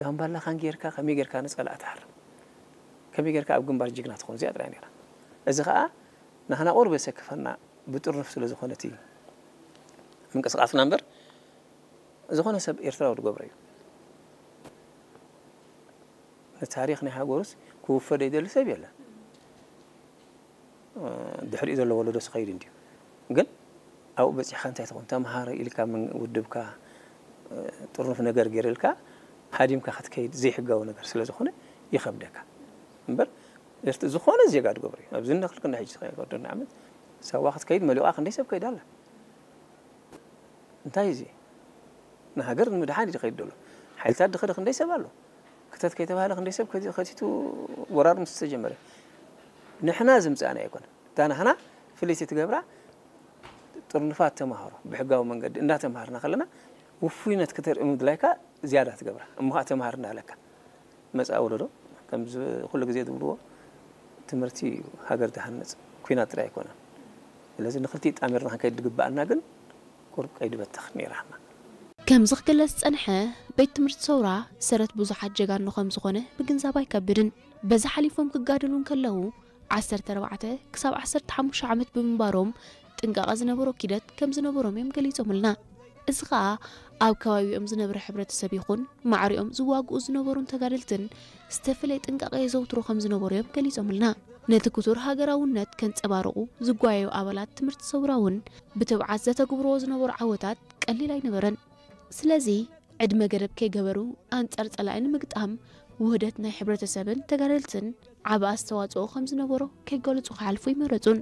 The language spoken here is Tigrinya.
ጋምባላኻን ጌርካ ከመይ ጌርካ ንጸላእ ትሃርም፣ ከመይ ጌርካ ኣብ ግንባር ጅግና ትኾን፣ እዚኣ ጥራይ ነይራ። እዚ ኸኣ ንሕና ቁሩብ ዘሰክፈና ብጥርኑፍ ስለ ዝኾነ እቲ ምንቅስቃስና እምበር፣ ዝኾነ ሰብ ኤርትራዊ ዝገብሮ እዩ። ንታሪኽ ናይ ሃገሩስ ክውፈ ዘይደሊ ሰብ የለን። ድሕሪኡ ዘሎ ወለዶስ ኸይድ እንድዩ። ግን ኣብኡ በጺሕካ እንታይ ትኾን? ተምሃር ኢልካ ምን-፣ ውድብካ፣ ጥርኑፍ ነገር ገይርልካ ሃዲምካ ክትከይድ ዘይሕጋዊ ነገር ስለ ዝኾነ ይኸብደካ። እምበር ኤርት-፣ ዝኾነ ዜጋ ዝገብሮ እዩ። ኣብዚ እንኽል ክንዲ ሕጂ ተኸይድ ወደና ዓመት ሳዋ ክትከይድ መሊቋ ክንደይ ሰብ ከይድ ኣላ። እንታይ እዚ? ንሃገር ንምድሓን እዩ ዝኸይድ ዘሎ። ሓይልታት ድኸደ ክንደይ ሰብ ኣሎ? ክተት ከይተባህለ ክንደይ ሰብ ከቲ-፣ ከቲቱ ወራር ምስ ተጀመረ? ንሕና ዝምጻእና ኣይኮነን። እታ ንሕና ፍልይቲ ትገብራ ጥርኑፋት ተማሃሮ ብሕጋዊ መንገዲ እንዳተማሃርና ከለና ውፉይነት ክተርኢ ምድላይካ ዝያዳ ትገብራ። እሞ ኸኣ ተማሃር እንዳበለካ መጻኢ ወለዶ ከምዚ ኩሉ ግዜ ዝብልዎ ትምህርቲ እዩ ሃገር ዝሃንጽ፣ ኲናት ጥራይ ኣይኮነን። ስለዚ ንኽልቲኡ ጣሚርና ክንከይድ ዝግብኣና ግን ቁሩብ ቀይዲ በተኽ ነይራና። ከምዚ ክግለጽ ዝጸንሐ ቤት ትምህርቲ ሰውራ ሰረት ብዙሓት ጀጋኑ ከም ዝኾነ ምግንዛብ ኣይከብድን። በዚ ሓሊፎም ክጋደሉ እንከለዉ ዓሰርተ ኣርባዕተ ክሳብ ዓሰርተ ሓሙሽተ ዓመት ብምንባሮም ጥንቃቐ ዝነበሮ ኪደት ከም ዝነበሮም እዮም ገሊጾምልና። እዚ ኸኣ ኣብ ከባቢኦም ዝነብር ሕብረተሰብ ይኹን ማዕሪኦም ዝዋግኡ ዝነበሩን ተጋደልትን ዝተፈለየ ጥንቃቐ የዘውትሩ ከም ዝነበሩ እዮም ገሊጾምልና። ነቲ ክቱር ሃገራውነት ከንጸባርቑ ዝጓየዩ ኣባላት ትምህርቲ ሰውራ እውን ብትብዓት ዘተግብርዎ ዝነበሩ ዓወታት ቀሊል ኣይነበረን። ስለዚ ዕድመ ገደብ ከይገበሩ ኣንጻር ጸላኢ ንምግጣም ውህደት ናይ ሕብረተሰብን ተጋደልትን ዓቢ ኣስተዋጽኦ ከም ዝነበሮ ከይገልጹ ክሓልፉ ኣይመረጹን።